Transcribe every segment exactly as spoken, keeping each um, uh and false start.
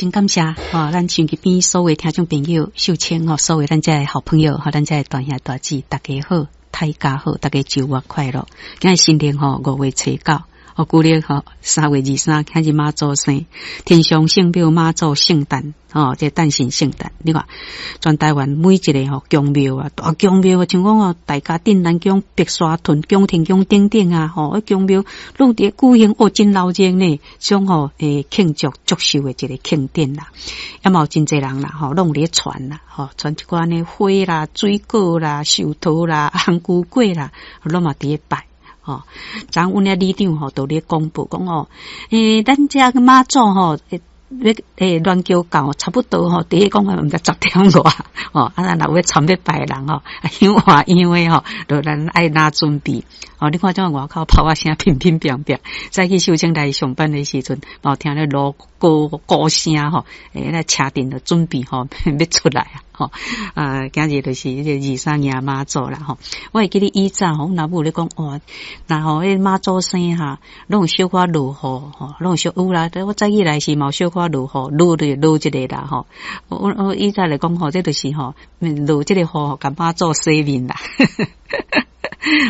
真感謝吼，咱收音機邊所有聽眾朋友，秀清吼，所有咱遮的好朋友，吼，咱遮的大兄大姊，大家好，大家好，大家週末快樂。今日新曆吼五月初九，哦，舊曆吼三月二三，今日媽祖生，天上聖廟媽祖聖誕，吼，這誕辰聖誕，你看全台灣每一个吼宮廟啊，大宮廟啊，像講哦，大家鎮南宮、白沙屯宮、天宮等等啊，吼，宮廟攏佇舉行哦，真鬧熱呢，種吼會慶祝祝壽的一个慶典啦，也嘛有真濟人啦，吼，攏佇咧傳啦，吼，傳一寡呢花啦、水果啦、壽桃啦、紅龜粿啦，攏嘛佇咧拜。吼，昨昏阮遐里長吼，都咧公布講哦，欸，咱遮个媽祖吼，欲欸鸞轎到差不多吼，佇咧講毋知十點外，吼，啊，咱若有欲參欲拜的人吼，香換樣的吼，就咱愛哪準備。哦，你看這外口炮仔聲乒乒乓乓，早起秀清來上班的時陣，嘛有聽咧鑼鼓鼓聲吼，欸，那車陣就準備吼，欲出來啊，吼，啊，今日就是這個二三迎媽祖啦，吼。我會記得以前吼，阮老母咧講，哇，若吼彼媽祖生哈，攏有小可落雨，吼，攏有小有啦。我早起來時嘛有小可落雨，落就落一个啦，吼。我我以前來講吼，這就是吼，落這個雨，共媽祖洗面啦。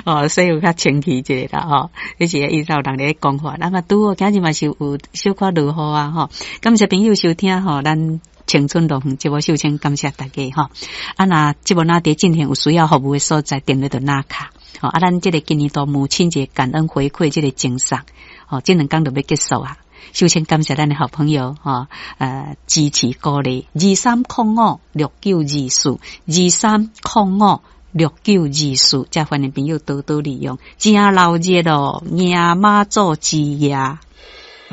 哦，洗有較清氣一下啦，吼，彼是以前人咧講法，那麼拄好今日嘛是有小可落雨啊，吼。感謝朋友收聽吼，咱青春樂園節目秀清，感謝大家吼。啊，若節目若佇進行有需要服務的所在，電話就拿卡。吼，啊，咱這个今年度母親節感恩回饋這个贈送，吼，這兩工就欲結束啊。首先感謝咱的好朋友，吼，呃，支持鼓勵二三空五六九二四二三空五六九二四，遮歡迎朋友多多利用，真鬧熱哦，迎媽祖之夜。